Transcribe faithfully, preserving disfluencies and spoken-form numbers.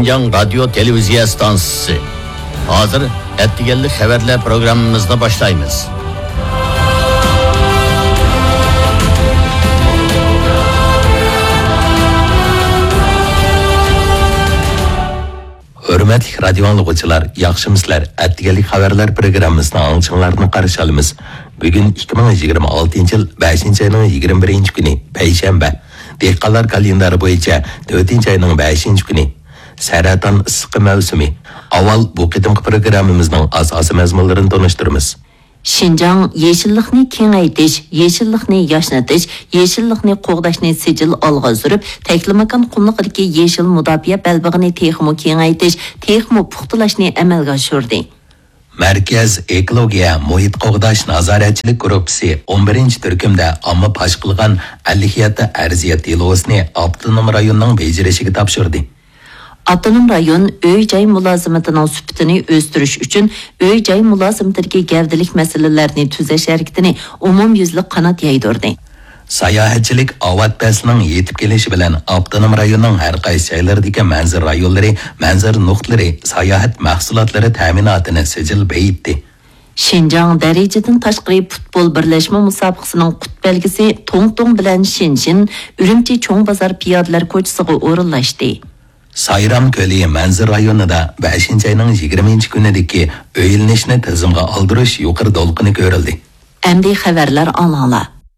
شىنجاڭ رادىيو تېلېۋىزىيە ئىستانسىسى. ھازىر ئەتىگەنلىك خەۋەرلەر پروگراممىمىزنى باشلايمىز. ھۆرمەتلىك رادىيو ئاڭلىغۇچىلار، ياخشىمۇسىلەر؟ ئەتىگەنلىك خەۋەرلەر پروگراممىسىنىڭ ئاڭلىغۇچىلىرىنى قارشى ئالىمىز. بۈگۈن ئىككى مىڭ يىگىرمە ئالتىنچى يىل بەشىنچى ئاينىڭ يىگىرمە بىرىنچى كۈنى، پەيشەنبە. دېھقانلار كالېندارى بويىچە تۆتىنچى ئاينىڭ بەشىنچى كۈنى. سەرەتان ئىسسىقى مەۋسۇمى. ئاۋۋال بۇ قېتىمقى پروگراممىمىزنىڭ ئاساسىي مەزمۇنلىرىنى تونۇشتۇرىمىز. شىنجاڭ يېشىللىقنى كېڭەيتىش، يېشىللىقنى ياشنىتىش، يېشىللىقنى قوغداشنى سىجىل ئالغا سۈرۈپ، تەكلىماكان قۇملۇقىدىكى يېشىل مۇداپىئە بەلبېغىنى تېخىمۇ كېڭەيتىش، تېخىمۇ پۇختىلااشنى ئەمەلگە ئاشۇردى. مەركەز ئېكولوگىيە مۇھىت قوغداش نازارەتچىلىك گۇرۇپپىسى ئون بىرىنچى تۈركۈمدە ئامما پاش قىلغان ئەللىك يەتتە ئەرزىيەت دېلوسىنى ئاپتونوم رايوننىڭ بېجىرىشىگە تاپشۇردى. ئاپتونوم رايون ئۆي-جاي مۇلازىمىتىنىڭ سۈپىتىنى ئۆستۈرۈش ئۈچۈن ئۆي-جاي مۇلازىمىتىدىكى گەۋدىلىك مەسىلىلەرنى تۈزەش ھەرىكىتىنى ئومۇميۈزلۈك قانات يايدۇردى. ساياھەتچىلىك ئاۋات پەسلىنىڭ يېتىپ كېلىشى بىلەن ئاپتونوم رايوننىڭ ھەر قايسى جايلىرىدىكى مەنزىرە رايونلىرى، مەنزىرە نۇقتىلىرى، ساياھەت مەھسۇلاتلىرى تەمىناتىنى سىجىل بېيىتتى. شىنجاڭ دەرىجىدىن تاشقىرى پۇتبول بىرلەشمە مۇسابىقىسىنىڭ قۇت بەلگىسى توڭتوڭ بىلەن شىنشىن ئۈرۈمچى چوڭ بازار پىيادىلەر كوچىسىغا ئورۇنلاشتى. سايرام كۆلى مەنزىرە رايونىدا بەشىنچى ئاينىڭ يىگىرمىنچى كۈنىدىكى ئۆيلىنىشنى تىزىمغا ئالدۇرۇش يۇقىرى دولقۇنى كۆرۈلدى. ئەمدى خەۋەرلەر ئاڭلاڭلار.